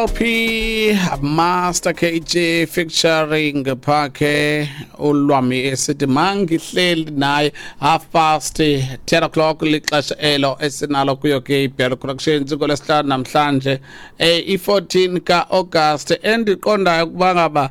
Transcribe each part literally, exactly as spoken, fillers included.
L P Master K G featuring Phakhe ulwami esithi mangihleli naye. Half past ten o'clock lixesha elo esinalo kuyo ke iBell Productions ngolwesihlanu namhlanje, eh i-fourteen ka-August, endiqondayo ukuba ngaba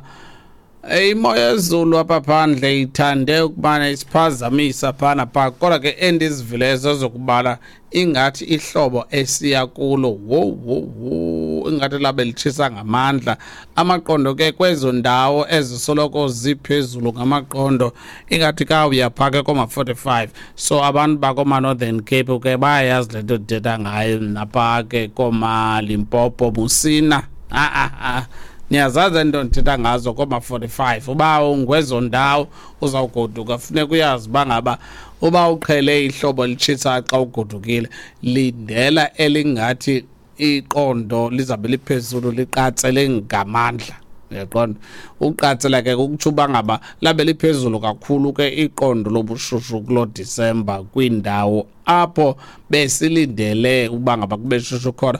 eh, imo yezulu apha phandle ithande ukubana isiphazamisa phana pha, kodwa ke endizivileyo zokubala ingathi ihlobo esiya kulo, wo wo wo, ingathi labe litshisa ngamandla amaqondo ke kwezo ndawo ezisoloko ziphezulu ngamaqondo, ingathi kawuya phaa ke koma-forty-five. So abantu bakoma-Northern Cape ke bayayazi le nto ndithetha ngayo, napha ke koomaLimpopo, Musina, ah ah ah, niyazazi ento ndithetha ngazo koma-forty-five. Uba ungwezo ndawo uzawugoduka, funeka uyazi uba ngaba uba uqhele ihlobo litshisa, xa ugodukile lindela elingathi iqondo lizabe liphezulu, liqatsele ngamandla. Uyaqonda, uqatsela ke kukutsho uba ngaba labe liphezulu kakhulu ke iqondo lobushushu kuloo Disemba kwiindawo apho besilindele uba ngaba kube shushu khona.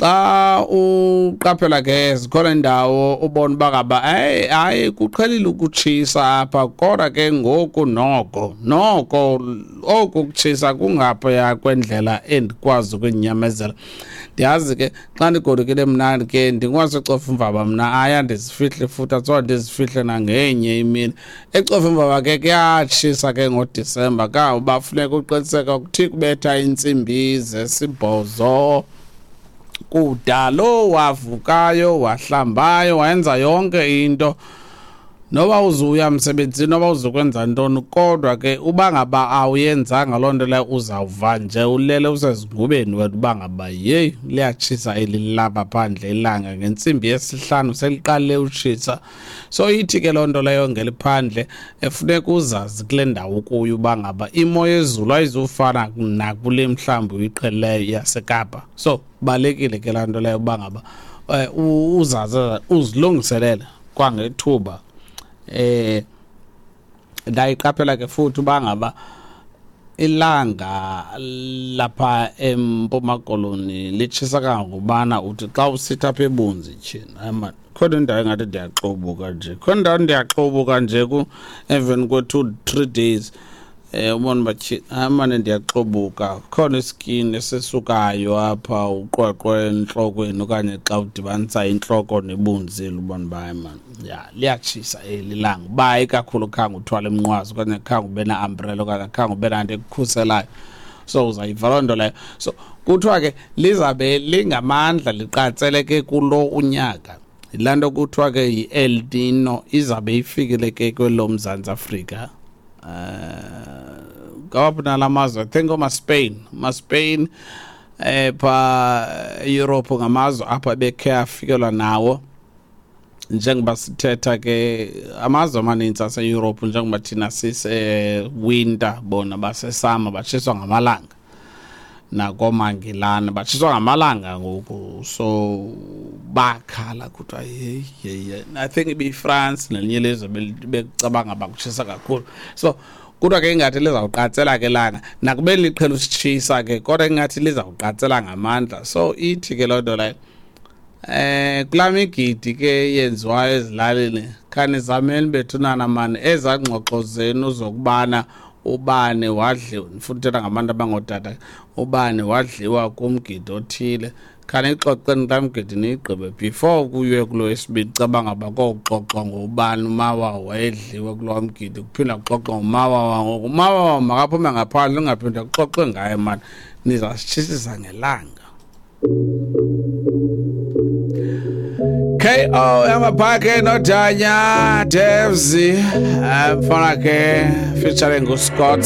Xa uqaphela ke, zikhona indawo ubona uba ngaba hayi hayi, kuqhelile ukutshisa apha, kodwa ke ngoku noko noko oku kutshisa kungaphaya kwendlela endikwazi ukuyinyamezela. Ndiyazi ke xa ndigodukile mna ke ndingwaseCofimvaba mna, aya ndizifihle futhi athiwa ndizifihle nangenye imini. ECofimvaba ke kuyatshisa ke ngoDisemba, ka uba funeka uqiniseka kuthi kubetha intsimbi zesibhozo kudalo wavukayo, wahlambayo, wayenza yonke into, noba uzuya emsebenzini, noba uzokwenza ntoni, kodwa ke uba ngaba awuyenzanga loo nto leyo, uzawuva nje ulele usezingubeni wena uba ngaba yeyi, liyatshisa eli lapha phandle ilanga. Ngentsimbi yesihlanu seliqalile utshisa. So ithi ke loo nto leyo ngeliphandle efuneka uzazi kule ndawo kuyo uba ngaba imo yezulu ayizufana nakule mhlawumbi uyiqhelileyo yaseKapa. So balulekile ke laa nto leyo uba ngaba um uzazi, uzilungiselele kwangethuba. eh ndayiqaphela ke futhi uba ngaba ilanga lapha eMpuma Koloni litshisa kangangobana uthi xa usitha apha ebunzi, tyhini, hayi man, khona indawo engathi ndiyaxobuka nje, khona indawo ndiyaxobuka nje ku emveni kwe-two three days, eh ubona uba tyhini, hayi mane, ndiyaxobuka, khona iskin esisukayo apha, uqweqwe entlokweni, okanye xa udibanisa intloko nebunzi, ubona uba hayi man, ya, liyatshisa eli langa, uba ikakhulu khange uthwale umnqwazi okanye khange ube na-umbrella okanye khange ube nanto ekukhuselayo. So uzayiva loo nto leyo. So kuthiwa ke lizabe lingamandla, liqatsele ke kulo unyaka. Yilaa nto kuthiwa ke yi-El Nino, izabe ifikile ke kwelo Mzantsi Afrika. eh ngawaphi nala mazwe? I think omaSpain, maSpain eh pha Europe, ngamazwe apha bekhe afikelwa nawo. Njengoba sithetha ke, amazwe amaninzi aseEurope, njengoba thina sise winter, bona basesummer, batshiswa ngamalanga. NakomaNgilane batshiswa ngamalanga ngoku, so bakhala kuthiwa yeyi yeyi. I think ibiyiFrance nelinye ilizwe bekucabanga bakutshisa kakhulu. So kodwa ke ingathi lizawuqatsela ke langa, nakubeni liqhela usitshisa ke, kodwa ingathi lizawuqatsela ngamandla. So ithi ke loo nto leyo, eh kulaa migidi ke yenziwayo ezilalini, khanizameni bethunana mani ezaa ngxoxo zenu zokubana ubani wadliwa, ndifuna uthetha ngabantu abangootata, ubani wadliwa kumgidi othile, khaniyixoxeni kulaa mgidi niyigqibe before kuyiwe kulo wesibini. Caba ngaba kokuxoxwa ngobani umawawa wayedliwe kuloo mgidi, kuphinda kuxoxwa ngomawawa ngoku, umawawa makaphume ngaphandle, ungaphinde kuxoxwe ngaye mani, nizasitshisisa ngelanga. K O yamaphakhe noDanya Devs, mfana ke featuring uScott.